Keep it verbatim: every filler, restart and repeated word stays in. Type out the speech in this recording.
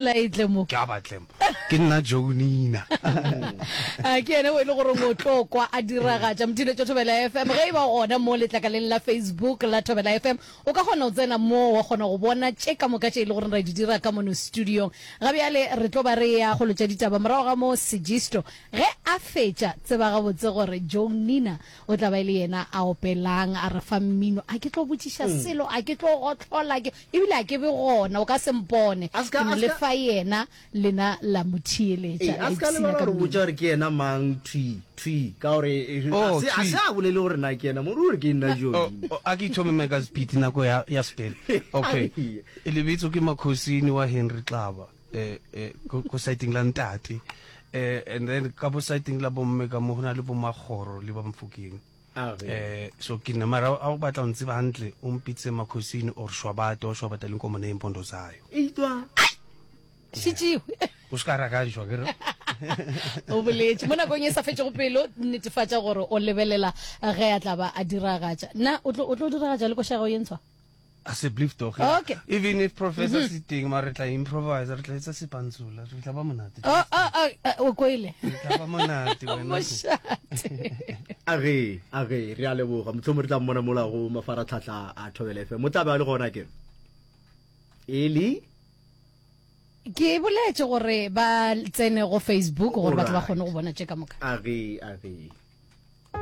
La e tle mo. Ke a batle mo. Ke nna Jonina. A ke yena o e le gore o tlo kwa a diragatša Mothiletšo Thobela F M. Ge e ba gona mo letlakaleng la Facebook la Thobela F M, o ka kgona go tsena moo wa kgona go bona tše ka moka tše e le gore ra di dira ka mono studiong. Ga bjale re tlo ba re ya kgolo tša ditaba morago ga mo Segisto. Ge a fetša, tseba gabotse gore Jonina o tla ba e le yena a opelang, a re fa mmino. A ke tlo botšiša selo, a ke tlo gohlola, ke ebile a ke be gona, o ka se mpone. A se ka- Ke no a se le ka- fa yena, lena la mo theeletša, Ee, la a se ka ipshina lebala ka gore mmino. botša gore ke yena mang thwi thwi ka gore eh, Oh, a se a thwi. se a bolele gore na ke yena mo ruri ke nna Oh, Joni. oh, a ke ithome meka speed nako ya ya spele. Okay. Lebitso ke Makhosini wa Henry Xaba. Eh eh ko ko siteng la ntate. Eh and then ka bo siteng la bomme ka mo hona le bo Magoro le ba Mfokeng. A re. Eh so ke nna mara a o batla o ntseba hantle o mpitse Makhosini or Shwabate wa Shwabata le nkomo neempondo zayo. Eitwa. Šitšiwe. O ska rakantšwa ke re. O boletše mo nakong e sa fetšego pelo, netefatša gore o lebelela ge a tla ba a diragatša. Na o tlo o tlo diragatša le koša ya gago ye ntshwa? Asseblief tog. Okay. Even if professor mm -hmm. siteng mara re tla improvise, re tla etsa sepantsula, re tla ba monate. Oh, oh, oh, o kwele. Re tla ba monate wena. Mošate. A re, a re, re a leboga. Mohlomong re tla mmona mola go mafaratlhatlha a Thobela F M. O tla be a le gona ke. Eli Ke boletše gore ba tsene go Facebook gore batho ba Alright. kgone go bona tše ka moka. A re, a re.